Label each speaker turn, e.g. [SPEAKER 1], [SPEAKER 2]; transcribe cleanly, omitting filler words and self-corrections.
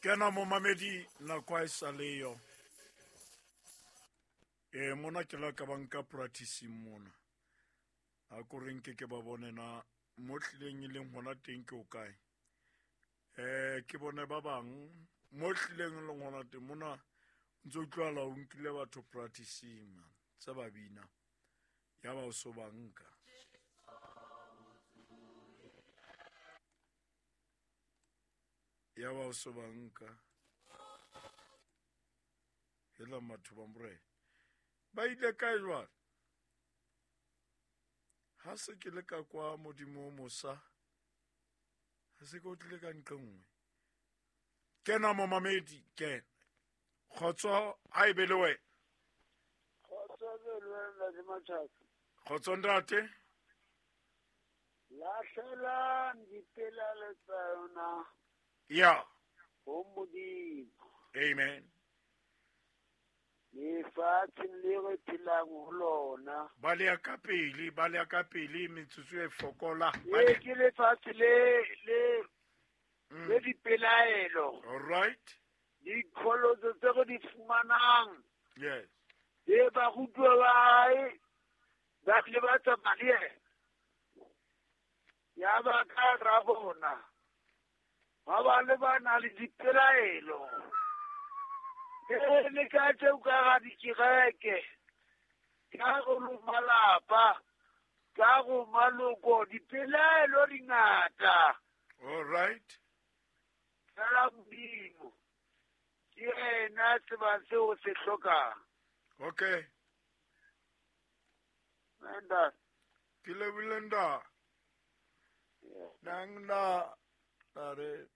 [SPEAKER 1] Kena momamedi, nako ha e sa leyo. E mona ke la ka ba nka practicing mona. A ko re nke ke ba bone na mo tlileng e leng hona teng ke o kae. Ke bone ba bang mo tlileng e leng hona teng mona ntse utlwala o nkile batho practicing man tse ba bina ya ba o so ba nka. Ya ba o so ba nka. Hela batho ba morena. Ba ile kae jwale? Ha se ke le ka kwa modimo o mosa, ha se ke o tlile ka nqe nngwe. Kena momamedi, kena. Kgotso ha e be le wena.
[SPEAKER 2] Kgotso be le wena, Ntate Matjhaka.
[SPEAKER 1] Kgotso ntate.
[SPEAKER 2] Lahlelang dipelaelo tsa yona.
[SPEAKER 1] Ya.
[SPEAKER 2] Ho Modimo.
[SPEAKER 1] Amen.
[SPEAKER 2] Lefatsheng le re phelang ho lona.
[SPEAKER 1] Ba le ya ka pele, ba le ya ka pele, metsotso e fokola.
[SPEAKER 2] Ee, ke lefatshe le le le dipelaelo.
[SPEAKER 1] All right.
[SPEAKER 2] Diqholotso tse re di fumanang.
[SPEAKER 1] Yes.
[SPEAKER 2] E barutuwa ba hae ba ile ba tsamaya le yena. Ya ba ka ra bona. Ba ba le ba na le dipelaelo. E le ka tseo ka ga dikereke, ka go malapa, ka go maloko, dipelaelo di ngata.
[SPEAKER 1] All right.
[SPEAKER 2] Fela Modimo ke yena tsebang seo se hlokang.
[SPEAKER 1] Okay.
[SPEAKER 2] Nda.
[SPEAKER 1] Ke lebile nda. Nang nda. Re.